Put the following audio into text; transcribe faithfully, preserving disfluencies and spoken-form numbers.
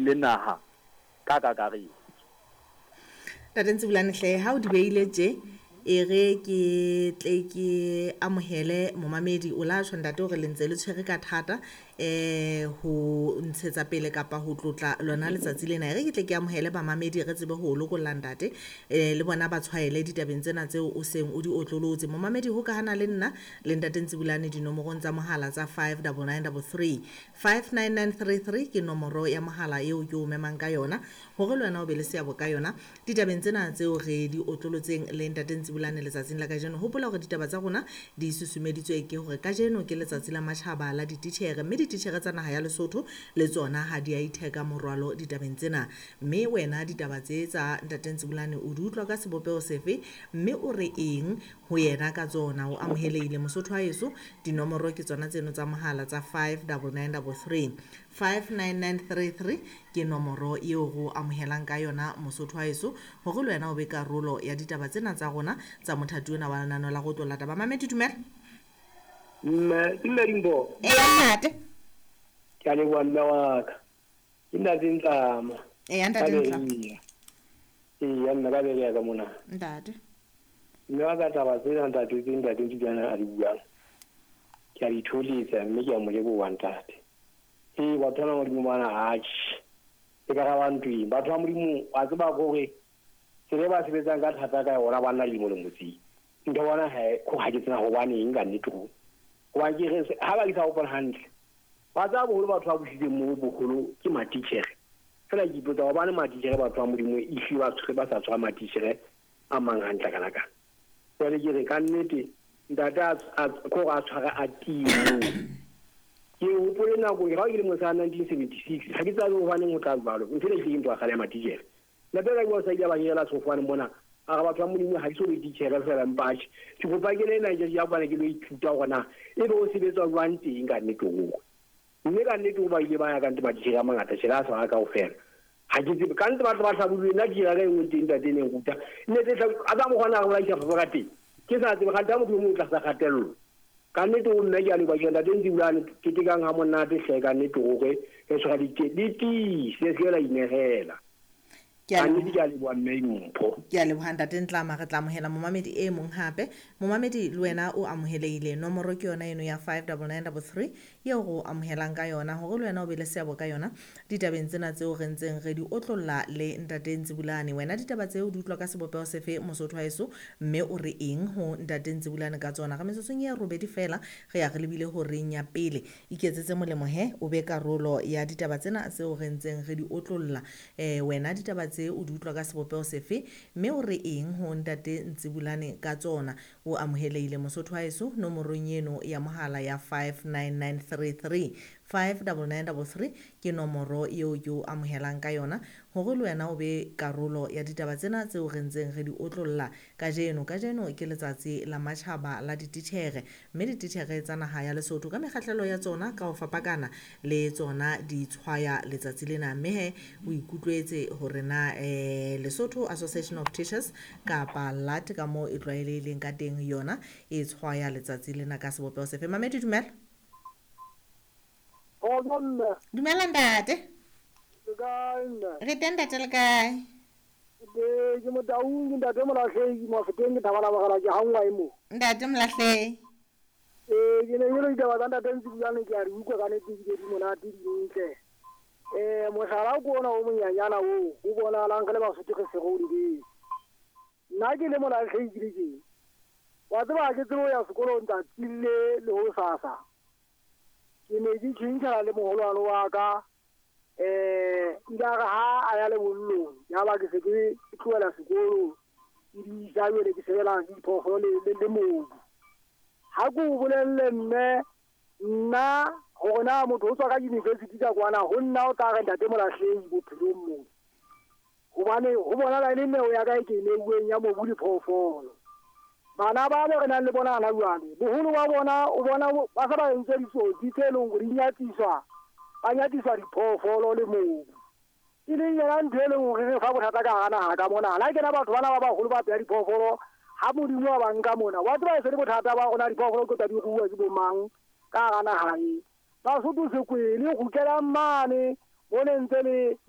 leng le naha ka kakaretso. Ntate Ntsibulane hle, ha o di beile tje, e re ke tle ke amohele momamedi. O la tjho ntate hore le ntse le tshwere ka thata eh ho ntshetsa pele kapa ho tlotla lona letsatsi lena. E re ke tle ke amohele bamamedi, re tsebe ho lokolla ntate, eh le bona ba tshwaele ditabeng tsena tseo o seng o di otlolotse. Momamedi, ho ka hana le nna le ntate Ntsibulane dinomorong tsa mohala tsa five double nine double three, five nine nine three three ke nomoro ya mohala eo ke o memang ka yona hore le wena o be le seabo ka yona ditabeng tsena tseo re di otlolotseng le ntate Ntsibulane letsatsing la kajeno. Hopola hore ditaba tsa rona di susumeditswe ke hore kajeno ke letsatsi la matjhaba la dititjhere, mme dititjhere tsa naha ya Lesotho le tsona ha di a itheka morwalo ditabeng tsena. Mme wena ditaba tse tsa ntate Ntsibulane o di utlwa ka sebopeho sefe, mme o re eng ho yena ka tsona? O amohelehile Mosotho wa heso. Dinomoro ke tsona tseno tsa mohala tsa five double nine double three, five nine nine three three ke nomoro eo re o amohelang ka yona Mosotho wa heso, hore le wena o be karolo ya ditaba tsena tsa rona tsa mothati ona wa lenaneo la go tlola taba. Mamedi, dumela. Mme, ke mme Dimpho. Eya, ntate. Ke a leboha mme wa ka. Ke ntate Ntlama. Eya, ntate Ntlama. Eya, nna ka beleha ka mona. Ntate. Mme wa ka, taba tsena ntate tse ntate Ntsibulane a di buang, ke a di tholetsa mme ke a mo leboha ntate. Ee, batho bana ba Modimo bana, atjhe, e ka ra ba ntweng. Batho ba Modimo, wa tseba hore tsela e ba sebetsang ka thata ka yona, ba nna lemo le motseng. Ntho bona ha ko ha ke tsena hobaneng ka nnete ho. Hobane ke re ha ba ke sa hopola hantle, ba tsaya boholo batho ba busitseng moo boholo ke matitjhere. Feela ke ipotsa hobane matitjhere batho ba Modimo e hlile ba tshwere ba sa tshwara matitjhere a mang hantle kana kana. Jwale ke re ka nnete ntate a ko a tshware a tiye moo. Ke hopole nako ke ha ke le mosana nineteen seventy-six, ha ke tsebe hobaneng ho tla jwalo. Ntho ena e hlile ke ntho ya kgale ya matitjhere. Ntate ka ke sa ile ba nyela sefofane mona, a re batho ba Modimo ha ke so be titjhere feela mpa atjhe. Ke kopa ke le ena ke ya kwana ke lo ithuta hore na e be o sebetswa jwang teng ka nnete ho. Mme ka nnete ho ba ile ba ya ka nnete matitjhere a mangata, tjhe, a sa kaofela. Ha ke tsebe ka nnete batho ba hlabolwe, nna titjhere ka e nngwe teng ntate e neng ruta. Nne tse hla-, a tsa mokgwa na re bolaisa papa ka teng. Ke sa tsebe kgante ha motho o mong o tlasa kgatello. Ka nnete ho mme ke a leboha, ke re ntate Ntsibulane, ketekang ha monate hle ka nnete hore re tshwara dike-, di tiise, se ke la inehela. Ke a Ka leboha. nnete ke a leboha mme Dimpho. Ke a leboha ntate Ntlama, re tla amohela momamedi e mong hape. Momamedi le wena o amohelehile. Nomoro ke yona eno ya five double nine double three eo re o amohelang ka yona hore le wena o be le seabo ka yona ditabeng tsena tseo re ntseng re di otlolla le ntate Ntsibulane. Wena ditaba tseo di utlwa ka sebopeho sefe Mosotho wa heso, mme o re eng ho ntate Ntsibulane ka tsona? Re metsotsong e robedi feela re ya re lebile horeng ya pele. Iketsetse molemo he, o be karolo ya ditaba tsena tseo re ntseng re di otlolla. Eh, wena ditaba tse o di utlwa ka sebopeho sefe, mme o re eng ho ntate Ntsibulane ka tsona? O amohelehile Mosotho wa heso nomorong eno ya mohala ya five nine nine three three, five double nine double three ke nomoro eo ke o amohelang ka yona hore le wena o be karolo ya ditaba tsena tseo re ntseng re di otlolla kajeno. Kajeno ke letsatsi la matjhaba la dititjhere, mme dititjhere tsa naha ya Lesotho ka mekgahlelo ya tsona ka ho fapakana le tsona di tshwaya letsatsi lena. Mme he o ikutlwetse hore na, eh, Lesotho Association of Teachers kapa L A T ka moo e tlwaelehileng ka teng yona e tshwaya letsatsi lena ka sebopeho sefe. Mamedi, dumela. Kgotso mme. Dumela ntate. Le kae mme? Re teng ntate, le kae? Ke, ke Motaung, ke ntate Molahlehi, Mafeteng, ke Thabana Mogala, ke hangwa e mo. Ntate Molahlehi. Eh, ke ne ke re ditaba tsa ntate Ntsibulane ke a di utlwa ka nnete ebile di monate, di ntle. Eh, mohlala ke ona o monyanyana oo, o bonahalang re le Basotho re se re o lebetse. Nna ke le Molahlehi ke le tjena. Wa tseba ha ke tsebe ho ya sekolong tsatsi le le hosasa. Ke ne ke tjhentjhana le moholwane wa ka. Eh, ile a re ha a ya lebollong, ya ba ke se ke tlohela sekolo, ke di isa jwale ke sebelana le diphoofolo le, le, le mobu. Ha ke o bolelle mme, nna hore na motho o tswa ka university ka kwana, ho nna o tla re ntate Molahlehi bophelong mona. Hobane ho bonahala e le neo ya ka e ke neuweng ya mobu le phoofolo. Bana ba be re nang le bona hana jwale, boholo ba bona o bona bo-, ba se ba entse ditsotsi tse leng hore di nyatsiswa, ba nyatsiswa diphoofolo le mobu. E leng yona ntho e leng hore re fa bothata ka hara naha ka mona. Ha ke na batho bana ba baholo ba peha diphoofolo, ha Modimo wa ba nka mona, wa tseba e se le bothata ba rona diphoofolo ke tsa di ruuwa ke bo mang ka hara naha e. Basotho sekwele, kgutlelang mane, mo ne ntse le